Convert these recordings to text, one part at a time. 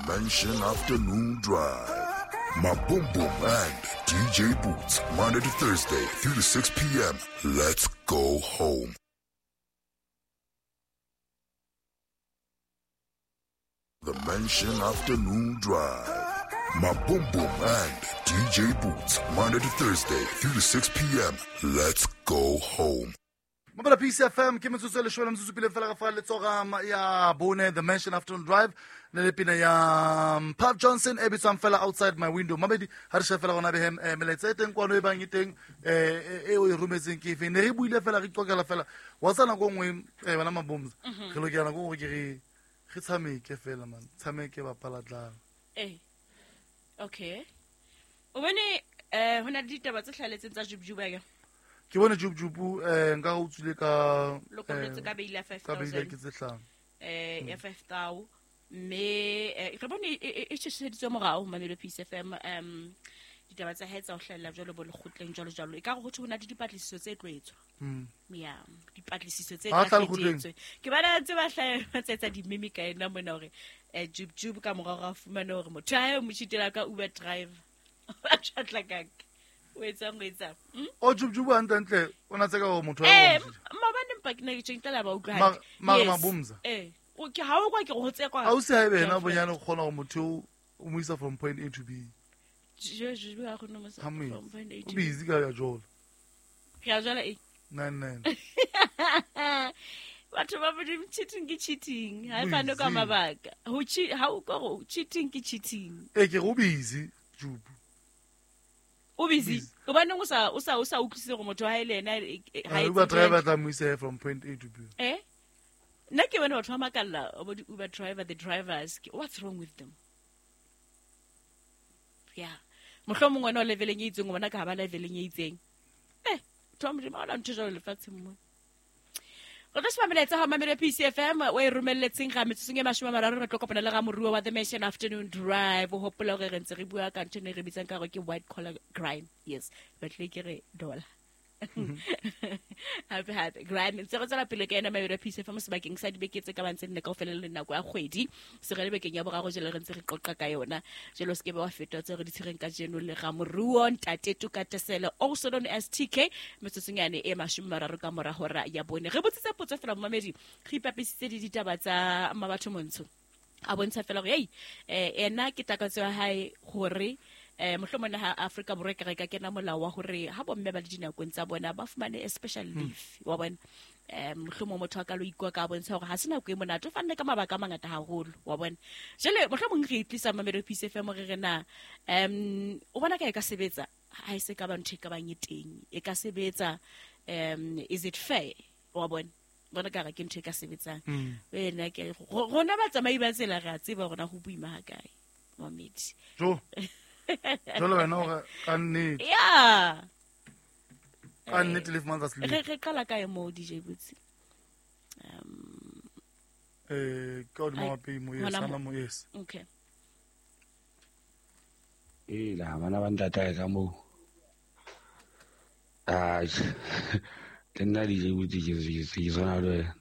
Mansion Afternoon Drive. My Boom Boom and DJ Boots, Monday to Thursday, 3 to 6 p.m. Let's go home. The Mansion Afternoon Drive. My Boom Boom and DJ Boots, Monday to Thursday, 3 to 6 p.m. Let's go home. Mabala Peace FM ke metsotso e leshome le metsotso pele fela ka fa letsoga ya bone, The Mansion Afternoon Drive le le pina ya Puff Johnson e bitswang fela Outside My Window. Mabedi ha re shebe fela gona behem melaetsa e teng kwano e bang e teng e o e rometseng ke efe? Ne re buile fela, re iqokela fela wa tsa nako nngwe, bana Mabomza, re lokela nako nngwe ke re tshameke fela, man, tshameke bapala tlala. Okay, o bone ho na le ditaba tse hlaheletseng tsa Jub Jub ake? Ke bone Jub Jub, nka o tswile ka Lokollotse ka bail ya five ka bail thousand. Ke tse hlano. Ya 5,000, mme re bone e tjheseditswe morao Mamelodi Peace FM, ditaba tsa hae tsa ho hlahella jwalo bo lekgotleng jwalo jwalo, e ka re ho thwe ho na le dipatlisiso tse tlo etswa. Ya, dipatlisiso tse Ha tla tla lekgotleng. etswe. Ke bana ntse ba hlaha ba tsa etsa dimeme ka ena mona hore Jub Jub ka morao ra fumana hore motho ha e mo cheatela ka Uber driver. Ba tjhatla ka o etsang, o etsang. O Jub Jub hantle ntle o na tseka hore motho wa Eh, o mo cheatela. Maobane mpa ke ne ke tjeng tla ba utlwa hantle. Mara Yes. Mabomza. O ke ha o kwa ke re ho tsekwa. Ha o se haebe yena Girlfriend. bonyane o kgona hore motho o mo isa from point A to B. Jo, jo, jo, ha kgone ho mo isa Ha mo from etse. point A O to B. busy ka ya jola. Ke a jwala eng? Nine nine. Batho ba Modimo, cheating ke cheating. Ha e fane ka Busy. mabaka. Ho ha o ka re cheating ke cheating. Eh, ke re o busy, Jubu. O busy. Busy. Hobaneng o sa utlwisise hore motho ha e le yena, ha Ah, etse Uber ntho driver tla mo isa from point A to B. Eh? Nna ke bone batho ba makalla bo di-Uber driver, the drivers. What's wrong with them? Yeah. Mohlomong wena o leveleng e itseng, o bona ka ha ba leveleng e itseng. Batho ba Modimo, ha hona ntho e jwalo lefatsheng mona. Re tlo sheba melaetsa ha Mamelodi Peace FM o e romelletseng ga metsotsong e 30, re tlo kopana le ramoruo wa The Mansion Afternoon Drive. O hopola hore re ntse re bua ka ntho e ne re bitsang ka hore ke white collar crime. Yes, batlile ke re dollar. Hape hape crime ntse re tswela pele ka ena Mamelodi Peace FM sebakeng sa dibeke tse ka bang tse nne kaofela le nako ya kgwedi. Se re le bekeng ya boraro jwale re ntse re qoqa ka yona. Jwale o se ke be wa feta tse re di tshwereng kajeno le ramoruo Ntate Tokatesele, also known as TK, metsotsong yane e 30 ka mora hora ya bone. Re botsitse potso fela momamedi, re ipapisitse le ditaba tsa Mmabatho Montsho. A bontsha fela hore, hey, ena ke takatso ya hae hore mohlomong ha Afrika Borwa e ka re ka kena molao wa hore ha bomme ba le dinakong tsa bona ba fumane a special leave, wa bona. Mohlomong motho a ka lo ikwa ka bontsha hore ha se nako e monate, o fanne ka mabaka a mangata haholo, wa bona. Jwale mohlomong re tlisa Mamelodi Peace FM re re na, o bona ka e ka sebetsa ha e se ka ba ntho e ka bang e teng, e ka sebetsa, is it fair, wa bona? Bona ka re ke ntho e ka sebetsang. Wena ke rona batsamai ba tsela re a tseba hore na ho boima ha kae, mamedi. Jo. Jwale wena hore ka nnete. Yeah. Ka nnete le fumana tsa Re qala kae moo, DJ Boots? Ka hodima Ai, mapei mo, yes, hona hana mo. mo, yes. Okay. Ee, la bana ba ntatae ka moo. Ai, le nna DJ Boots ke tshwana le wena.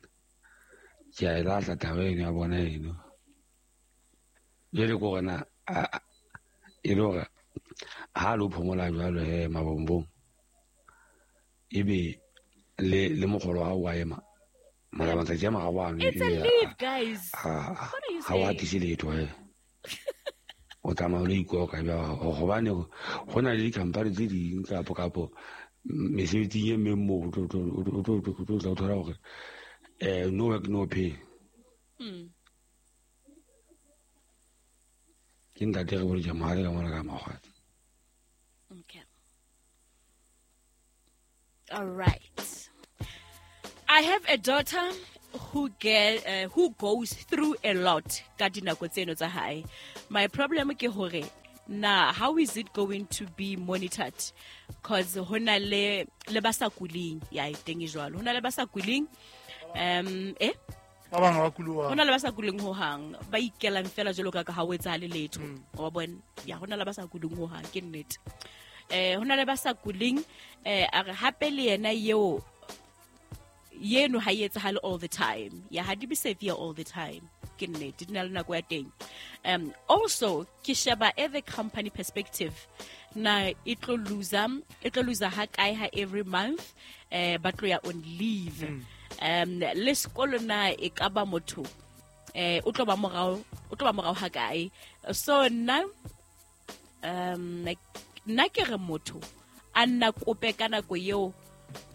Ke a e lahla taba eno ya bona eno. Jwale ke hore na, e le hore ha lo phomola jwalo he mabombong, ebe le mokgolo wa hao wa ema. Mara matsatsi a mararo ano It's a ebile leave, guys. What are you ha o saying? hatise letho he. O tsamaya o lo ikoka hobane ho na le di-company tse ding kapo mesebetsing e meng moo o tlo tla o thola hore, no work no pay. Ke ntate re bolokela mohale ka mona ka Makgwatsi. Okay. All right. I have a daughter who goes through a lot ka dinako tseno tsa hae. My problem ke hore na how is it going to be monitored? 'Cause hona le ba sa kuleng, ya e teng e jwalo. Hona le ba sa kuleng, Ba bang ha ba kule ho hang. Hona le ba sa kuleng ho hang, ba ikelang fela jwalo ka ha ho etsahale letho. Wa bona? Ya, hona le ba sa kuleng ho hang, ke nnete. Hona le ba sa kuleng, a re hape le yena eo yeno ha e etsahale all the time. Ya, ha di be severe all the time. Ke nnete, di na le nako ya teng. Also ke sheba e the company perspective, na e tlo loser ha kae ha every month ba tlo ya on leave. Le sekolo na e ka ba motho o tlo ba morao ha kae. So nna nna ke re motho a nna kope ka nako eo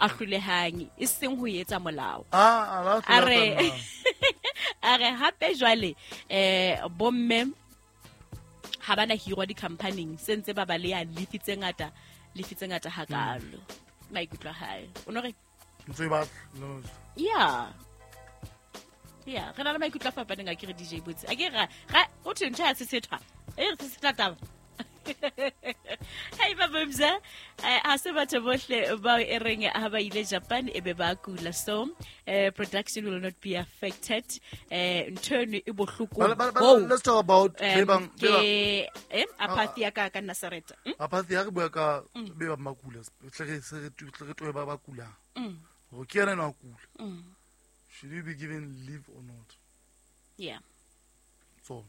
a hlolehang, e seng ho etsa molao. A re hape jwale bomme ha bana hirwa di-companyng se ntse ba ba le ya lefi tse ngata hakalo. Maikutlo a hae o no re yeah yeah, re na le maikutlo a fapaneng a ke re DJ Botse a ke ra o thwe ntho ya sesethwa e re sesethwa taba. Hey babumza, ha se batho bohle bao e reng ha ba ile Japan e be ba kula, so production will not be affected. Ntho eno e bohloko. Let's talk about ke apathy ya ka Nazareth. Apathy ya re bua ka be ba makula, tle re toe ba kula. Go ke yena a kula. Should you be given leave or not? Yeah. So